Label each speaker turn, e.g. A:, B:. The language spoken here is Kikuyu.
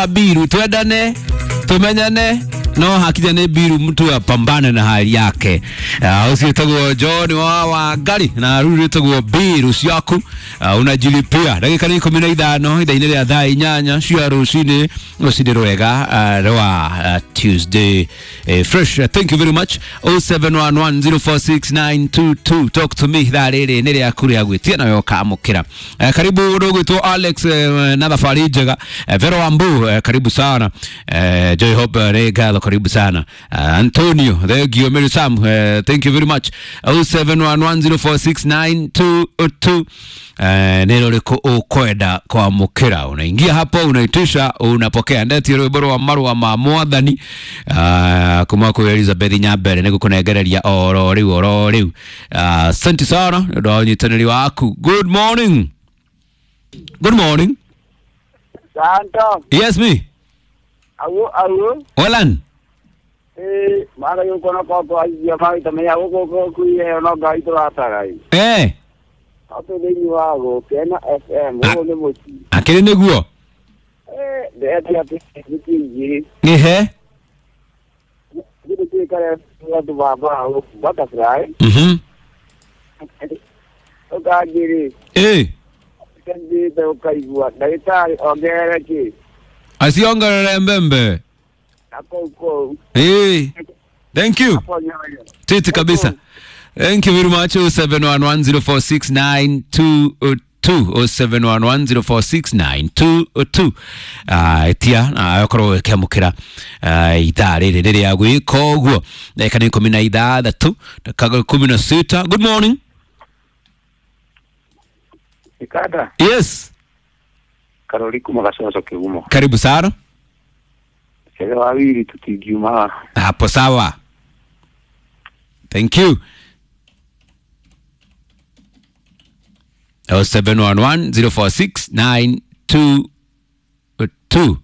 A: Biru twendane tumenyane no hakinya nĩ Biru mtu apambane na hali yake. Ũcio wĩtagwo John wa Wangari na rĩu rĩtagwo Biru ciaku. Unajilipia ndagĩka nĩ 15 ithaa-inĩ rĩa thaa 8 cia rũcinĩ, rũcinĩ rwega rwa Tuesday fresh. Thank you very much. 0711046922, talk to me. Ithaa rĩrĩ nĩ rĩaku rĩa gwĩtia nawe ũkamũkĩra. Karibu ũndũ Alex, na thabarĩ njega. Vero Wambu, karibu sana. Joy Hope, nĩ ngatho, karibu sana. Antonio, thank you. Mary Sam, thank you very much. 0711046922, nĩ rũrĩkũ ũkwenda kwamũkĩra? Unaingia hapo, unaitisha, unapokea. Ndetie rwĩmbo rwa marũa ma mwathani kuma kwĩ Elizabeth Nyambere nĩ gũkũnengereria oro rĩu oro rĩu. Asante sana nĩ ũndũ wa ũnyitanĩri waku. Good morning. Good morning.
B: Santo,
A: yes me.
B: Awu awu,
A: Olan.
B: Eh, mara yuko na kwa kwa ya mai tamenya guko ko kuye no ngai turatagai.
A: Eh.
B: Ato thĩinĩ wa Gũkena FM ũguo nĩ mũciĩ.
A: Akĩrĩ nĩguo.
B: Eh, ndĩretia atĩ thikũ igĩrĩ.
A: Ehe.
B: Githĩ tuikare andũ ba butterfly. Ũkanjĩrĩ,
A: Eh.
B: ũkanjĩte ũkaigua ndagĩtarĩ ongerere kĩ
A: aciongerere mbembe.
B: Na kũu kũu.
A: Eh. Thank you.
B: Hapo nyoyo.
A: Titi kabisa. Thank you very much. 0711046922, 0711046922. Etia na okorwo ũkĩamũkĩra ithaa rĩrĩ rĩrĩa gwĩka ũguo ndagĩka nĩ 16 ndagĩka 16. Good morning.
C: Ikada
A: Yes.
C: Karori kuma Gacoco Kĩgumo.
A: Karibu sana.
C: Cege wa wiri tutingiuma.
A: Hapo sawa. Thank you. 0711 046 922.